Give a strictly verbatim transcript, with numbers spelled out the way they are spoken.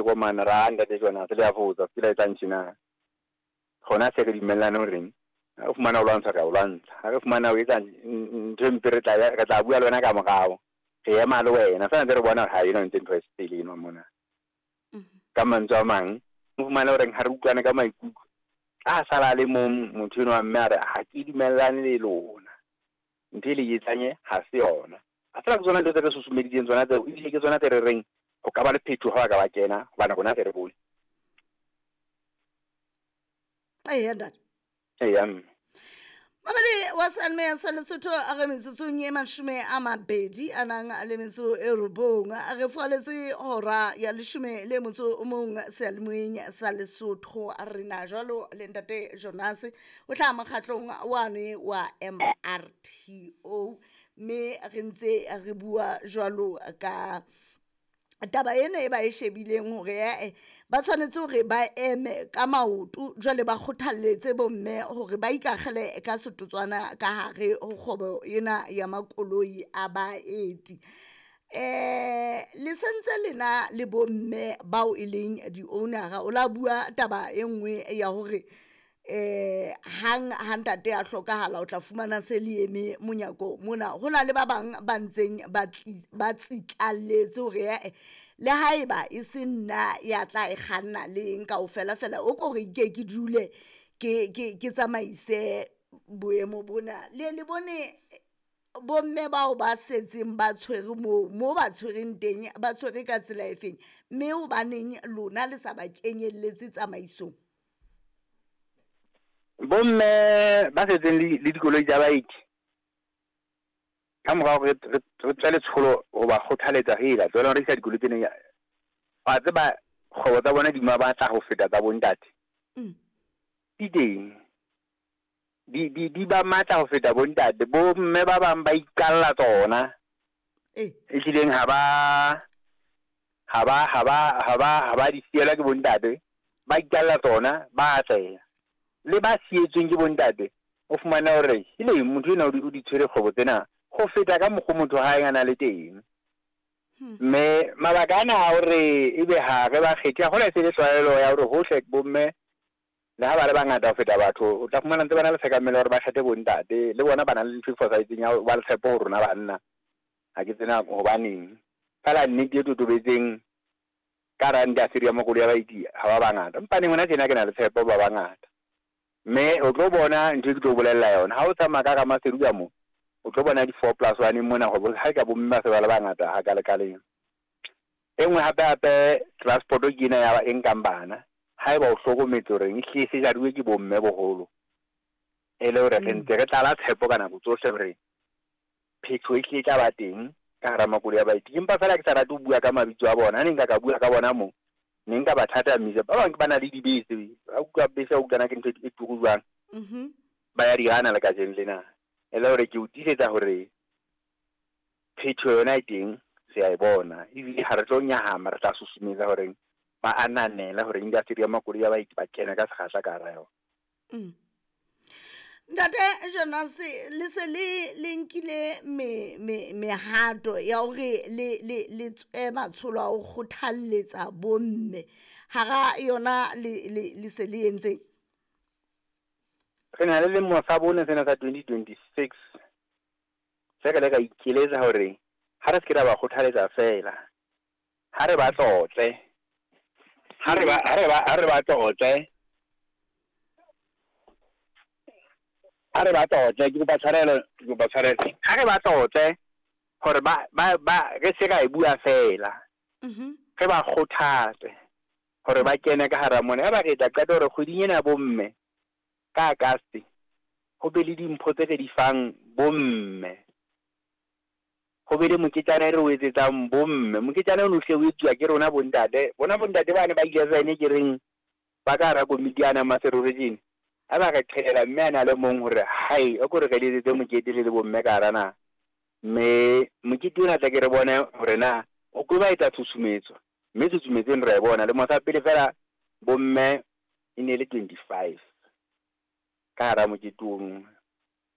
Komana ra ntate Jonas le a fotsa se la etsang tjena. Gona se re dumellane horeng ha re fumana o lwantsha re a o lwantsha, ha re fumana o etsa ntho e mpe re tla re tla bua le wena ka morao, re ema le wena. Fela ntse re bona hore ha ena ntse ntho e sele eno mona. Ka mantswe a mang, o fumane horeng ha re utlwane ka maikutlo, a sala a le mong motho enwa mme a re ha ke dumellane le lona. Ntho e le etsang e ha se yona. A tseba ke tsona ntho tse re susumeditseng tsona tseo, ebile ke tsona tse re reng ho ka ba le phethoho ha ba ka ba kena hobane rona se re bone. Eya ntate. Eya mme. Mamedi wa Seyalemoya sa Lesotho a re metsotsong e mashome a mabedi a nang le metso e robong a re fualetse hora ya leshome le motso o mong seyalemoyeng sa Lesotho. A re na jwalo le ntate Jonas o hlaha mokgatlong wane wa M R T O, mme re ntse re bua jwalo ka taba ena e ba e shebileng hore eh ba tshwanetse hore ba eme ka maoto jwale ba kgothalletse bomme hore ba ikakgele ka setotswana ka hare ho kgwebo ena ya makoloi a baeti. Eh le sentse lena le bomme bao e leng di-owner-a, o la bua taba e nngwe ya hore eh hang ha ntate a hlokahala o tla fumana se le eme monyako mona. Ho na le ba bang ba ntseng ba ba tsitlalletse hore eh le haeba e se nna ya tla e kganna le eng kaofela fela o ko re ke ke dule ke ke ke tsamaise boemo bona. Le le bone bomme bao ba setseng ba tshwere moo mo ba tshwereng teng ba tshwere ka tsela efeng, mme hobaneng lona le sa ba kenyelletse tsamaisong? Bomme ba setseng le le dikoloi tsa baeti ka morao re re tswe letsholo ho ba kgothaletsa hela tswela ho rekisa dikoloi tsena. Wa tseba kgwebo tsa bona di matla ho feta tsa bontate. Di teng di di di ba matla ho feta bontate. Bomme ba bang ba iqalla tsona e hlileng ha ba ha ba ha ba ha ba ha ba di sielwa ke bontate, ba iqalla tsona ba atleha. Le ba sietsweng ke bontate o fumana hore ile motho ena o di tshwere kgwebo tsena ho feta ka mokgwa motho ha a na le teng. Mme mabaka ana a hore ebe ha re ba kgethe, ha hona se le tlwaelo ya hore hohle bomme le ha ba le bangata ho feta batho, o tla fumana ntse ba na le tshekamelo hore ba kgethe bontate, le bona ba na le ntho e fosahetseng ya ba le tshepo ho rona banna. Ha ke tsena hobaneng fela nnete e totobetseng ka hara industry ya makoloi a baeti ha ba bangata, empa neng hona tjena ke na le tshepo ba bangata. Mme o tlo bona ntho e ke tlo bolella yona ha o tsamaya ka hara Maseru ka mo, o tlo bona di-four plus one mona hore ha ka bomme ba se ba le bangata ha ka lekaleng. E nngwe hape hape transport ke ena ya e nkang bana, haeba o hlokometse hore e hlile se jaruwe ke bomme boholo, e le hore re ntse re tlala tshepo ka nako tsohle hore phetho e hlile e tla ba teng ka hara makoloi a baeti. Empa fela ke sa rate ho bua ka mabitso a bona, ha ne nka ka bua ka bona mo ne nka ba thathamisa. Ba bang ba na le dibese, ba utlwa bese, ba utlwana ke ntho e turu jwang, ba ya di hana le kajeno lena. E le hore ke o tiisetsa hore phetho yona e teng, se a e bona, ebile ha re tlo nyahama, re tla susumetsa hore ba ananela hore industry ya makoloi a baeti ba kena ka sekgahla ka hara yona. Ntate Jonas, le se le le nkile me me mehato ya hore le le le tswe matsholo a ho kgothalletsa bomme hara yona le le le se le entseng? Re na le lemo sa bone sena sa twenty twenty-six se re le ka ikeletsa hore ha re se ke ra ba kgothaletsa fela, ha re ba tlotle, ha re ba ha re ba ha re ba tlotle, ha re ba tlotle, ke kopa tshwarelo, ke kopa tshwarelo. Ha re ba tlotle hore ba ba ba re se ka e bua fela, re ba kgothatse hore ba kene ka hara mona. Ya ba re tla qeta hore kgweding ena bomme ka Agasti ho be le dimpho tse re di fang bomme, ho be le moketjana e re o etsetsang bomme. Moketjana ono hle o etsuwa ke rona bontate, bona bontate bane ba eleven ke reng ba ka hara komiti yana Maseru region, ha ba re qhelela mme a na le mong hore hai o ko re re le etsetse mokete le le bomme ka hara naha. Mme mokete ona tla ke re bone hore na o ko ba etsa tshusumetso, mme tshusumetso eno re e bona. Lemo sa pele fela bomme e ne le twenty-five ka hara mokete ono.